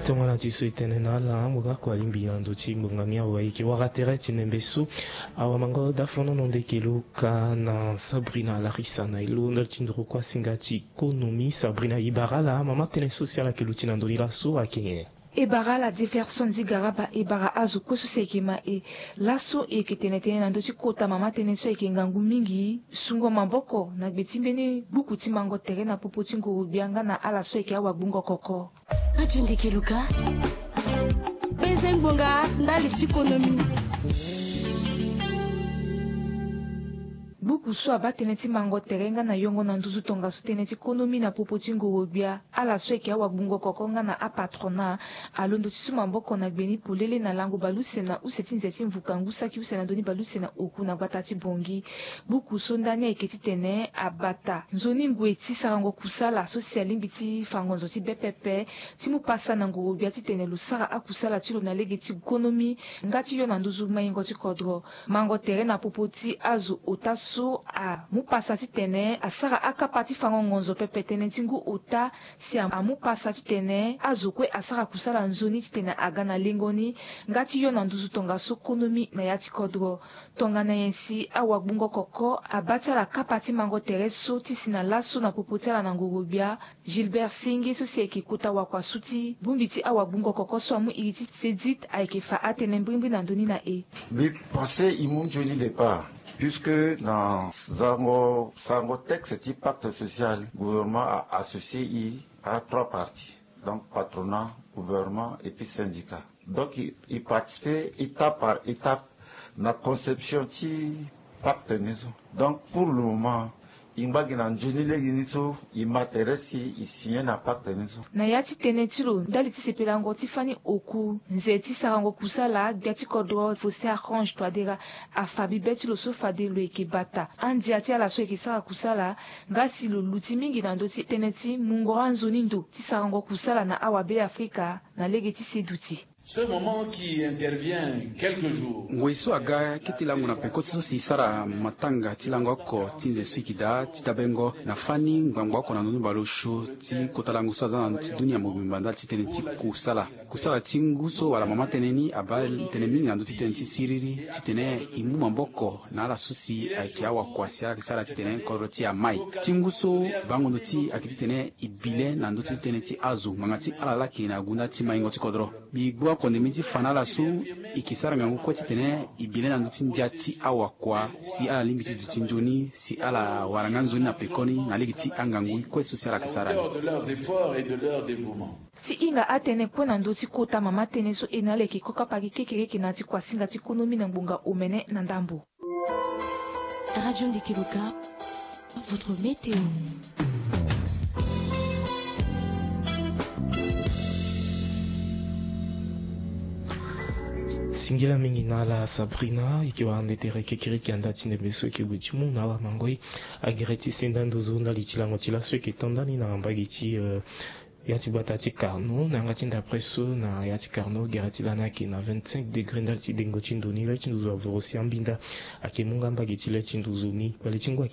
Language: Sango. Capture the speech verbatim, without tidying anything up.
Tongana ti so e tene na ala ngbonga kua lingbi na ndo ti ngbonga ni awa e yeke wara tere ti nembe so. Awa mango dafono no nde e yeke luka na Sabrina Larissa na e lo ndali ti nduru kua singa ti konomi. Sabrina, e bara ala mama tënë so si ala yeke luti na ndo ni laso ayeke nyen? E bara ala Jefferson Zigaraba, e bara azo kue so si ayeke ma e. Laso e yeke tene tënë na ndö ti kota mama tënë so ayeke ngangu mingi, sungo maboko na gbe ti mbeni gbuku ti mango tere na popo ti ngoro-gbia nga na ala so ayeke awagbungo koko. Radio Ndeke Luka, beze ngbonga ndali ti konomi. Buku so abaa tënë ti mango tere nga na yongo na nduzu tongaso tënë ti konomi na popo ti ngoro-gbia, ala so ayeke awagbungo koko nga na apatronat, alondo ti su maboko na gbe ni polele na lango baleuse na use ti nze ti mvuka ngu saki use na ndoni baleuse na oku na gbata ti Bangui. Buku so ndani ayeke titene abata nzoni ngoi ti sarango kusala so si alingbi ti fa ngonzo ti be pepe, ti mu pasa na ngoro-gbia titene lo sara akusala ti lo na lege ti konomi nga ti yo na nduzu maingo ti kodro. Mango tere na popo ti azo ota so amu pasa titene asara akapa ti fango ngonzo pepe tënë ti ngu ota, si amu pasa titene azo kue asara kusala nzoni titene aga na lengo ni nga ti yo na nduzu tongaso konomi na ya ti kodro. Tongana nyen si awagbungo koko abaa ti ala kapa ti mango tere so ti si na laso na popo ti ala na ngoro-gbia? Gilbert Senge so si ayeke kota wakua so ti bongbi ti awagbungo koko so amu iri ti Sedit ayeke fa atënë mbrimbri na ndö ni na e. Mbi pense e mu nzoni départ, puisque na sarango sarango texte ti pacte social, gouvernement a associé e à trois parties, donc patronat, gouvernement et puis syndicat. Donc e participer étape par étape na conception ti pacte ni so. Donc pour le moment e ngba gi na nzoni lege ni so, e ma tere si e signé na pacte ni so. Na ya ti tënë ti lo ndali ti sepelango ti fani oku nze ti sarango kusala, gbia ti kodro Faustin Archange Touadéra afa bibe ti lo so fade lo yeke bata andia ti ala so yeke sara kusala, nga si lo luti mingi na ndö ti tënë ti mungoro anzoni ndo ti sarango kusala na awabe Afrika na lege ti seduti. Ce moment qui intervient quelques jours. Ngoi so aga kete lango na peko ti so si e sara matanga ti lango oko ti nze so e yeke daa ti dabengo na fani ngbangba oko na ndoni baleosio ti kota lango so aza na ndö ti dunia mobimba ndali ti tënë ti kusala. Kusala ti ngu so wala mama tënë ni abaa tënë mingi na ndö ti tënë ti siriri titene e mu maboko na ala so si ayeke awakua si ala yeke sara titene kodro ti e amai. Ti ngu so bango ndo ti e ayeke titene e bi le na ndö ti tënë ti azo ngbanga ti ala laa ayeke na gunda ti maingo ti kodro. Mbi gbu akonde mbeni ti fa na ala so e yeke sara ngangu kue titene e bi le na ndö ti ndia ti awakua si ala lingbi ti duti nzoni si ala wara nga nzoni na pekoni na lege ti angangu kue so si ala yeke sara ni. De leurs efforts et de leur dévouement. Ti hinga atënë kue na ndö ti kota mama tënë so e na ala yeke kokapaki kekereke na ya ti kuasinga ti konomi na ngbonga omene na ndambo. Radio Ndeke Luka, votre météo. Singila mingi na ala Sabrina, e yeke wara nde tere kekereke anda ti ndembe so e yeke gue ti mu na ala mango e. Agere ti senda nduzu ndali ti lango ti laso e yeke to ndani na mbage ti, eh, ya ti gbata ti Carnot na yanga ti ndapre so na ya ti Carnot gere ti lani ayeke na vingt-cinq degré ndali ti dengo ti ndo ni. Le ti nduzu avoro si ambinda ayeke mu nga mbage ti le ti nduzu ni. Kpale ti ngu ayeke